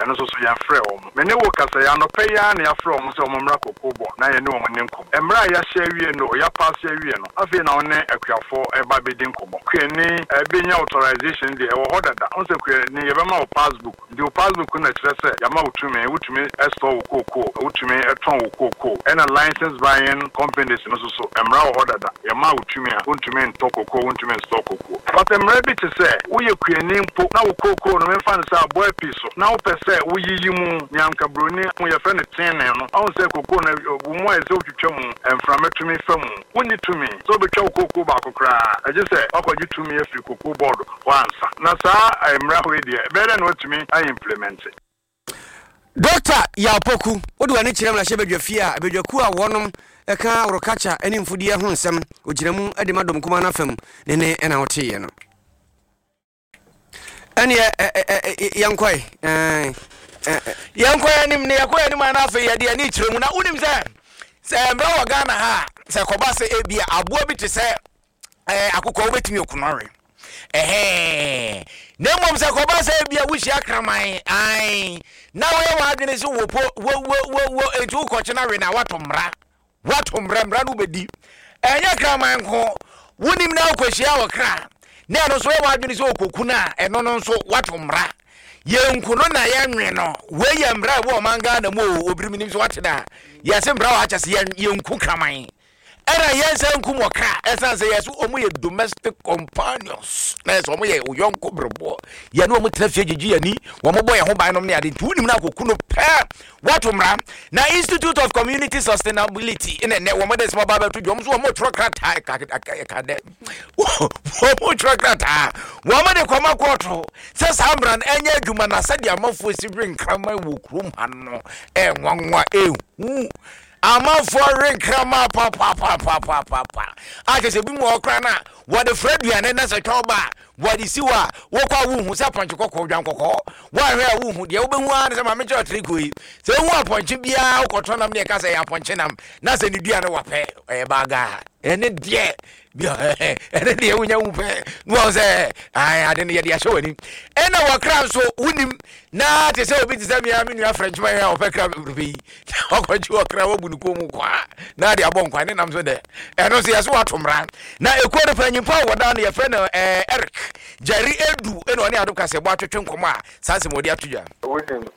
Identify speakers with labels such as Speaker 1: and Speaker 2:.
Speaker 1: Ɛno nso so, yɛmfrɛɛ wɔn. Me ne wo rekasa yi, anɔpa yi ara na yɛafrɛ wɔn sɛ wɔmmra Cocoa Board na yɛne wɔn nni nkɔmmɔ. Mmara a yɛahyɛ awie no, yɛapaase awie no, afei na wo ne akuafoɔ reba abɛdi nkɔmmɔ. Kuani bɛnya authorization deɛ, ɛwɔ hɔ dada. Wohu sɛ kuani, yɛbɛma wo passbook. Nti wo passbook no na ɛkyerɛ sɛ yɛama wo tumi, wotumi store wo cocoa, wotumi tɔn wo cocoa. Ɛna license buying companies no nso so, mmara wɔ hɔ dada, yɛmaa wo tumi a, wontumi ntɔ cocoa, wontumi nstore cocoa. But mmara bi te sɛ, woyɛ kuani mpo na wo cocoa no, memfa no sɛ aboa api so, na wopɛ sɛ woyiyi mu, nea anka buroni yɛfrɛ no thinning no, wahu sɛ cocoa no, wo mu ayɛ sɛ wotwitwa mu, mframa tumi fa mu. Wonni tumi sɛ wobɛtwa wo kookoo baako koraa, gye sɛ woakɔgye tumi afiri Cocoa Board hɔ ansa. Na saa mmara wei deɛ, ɛbɛyɛ dɛn na wɔatumi a implemente?
Speaker 2: Dɔkta Yaw Poku, wode w'ani kyerɛ mmarahyɛbadwa fie a badwakuo a wɔnom ka worokakya ne mfudeɛ ho nsɛm, ɔgyina mu de ma dɔm kumaa no afa mu ne ne na woteeɛ no. Ɛneɛ yɛnkɔe.
Speaker 3: Yɛnkɔ yɛn anim na yɛkɔ yɛn anim a na afei yɛde ani kyerɛ mu na wonim sɛ sɛ mmerɛ wɔ Ghana ha a sɛ kɔba sɛ ebi a aboa bi te sɛ ɛɛ akokɔ wobɛtumi aku no awe ɛhɛn na mmom sɛ kɔba sɛ ebi a wohyia kraman ae na woyɛ w'adwene sɛ wopo wo wo wo wo enti wokɔkye no awe na woato mmara Woato mmara, mmara no wobɛdi. Ɛnyɛ kraman nko, wonim na wokɔhyia ɔkra na ɛno nso yɛ w'adwene sɛ ɔkɔku no a, ɛno no nso woato mmara. Yɛnku no na yɛnwe no. Wei yɛ mmara a ɛwɔ ɔman Ghana mu o, obiri menim sɛ woate da. Yɛse mmara wɔ akyɛ sɛ yɛnku kraman. Ɛna yɛnsa nkum ɔkra ɛsan sɛ yɛse wɔn yɛ domestic companions na yɛsɛ wɔn yɛ oyɔnko bereboɔ. Yɛne wɔn tena fie gyegye yɛn ani, wɔn bɔ yɛn ho ban nom ne ade nti wonim no akɔku no pɛ. Wɔato mmara na Institute of Community Sustainability na ɛnɛ wɔn de nsɛm aba abɛto dwa. Wɔn nso wɔn twerɛ krataa ɛka ɛka dɛ wɔn twerɛ krataa wɔn de kɔma kɔɔto sɛ saa mmara no ɛnyɛ adwuma na sɛdeɛ amanfoɔ si we nkraman wɔ kurom ha no ɛnwanwa ehu amanfoɔ we nkraman papapapapaapa a kyerɛ sɛ ebi mu wɔ koraa no a wɔde frɛ aduane na sɛ twɛn ba a Wɔde si hɔ a, wokɔ a wonhu sɛ apɔnkye kɔkɔɔ, dwan kɔkɔɔ. Woanhwɛ a wonhu. Deɛ wobɛhu ara ne sɛ maame kyerɛ ɔtere yi. Sɛ wohu apɔnkye biara wokɔtɔ nam ne ɛka sɛ ɛyɛ apɔnkye nam na sɛ ne dua no wapɛ ɛyɛ baagaa. Ɛne deɛ ɛne deɛ wonya hu pɛ na wɔn sɛ ade no yɛde ahyɛ w'ani. Ɛna wɔkra nso wonim na te sɛ obi te sɛ mea me nua Frenchman a ɔpɛ kra bebrebe yi ɔkɔgye ɔkra wabu ne kɔn mu kwa na ade abɔ nkwa ne nam so dɛ ɛno nso yɛso wato mmara na ekuo no panyimpa a wɔda no yɛfrɛ no ɛɛ Eric Jerry Edu ɛna ɔne Adom Kaseɛbɔ atwetwe nkɔmɔ a saa nsɛm wɔde ato dwa.
Speaker 1: Wonim.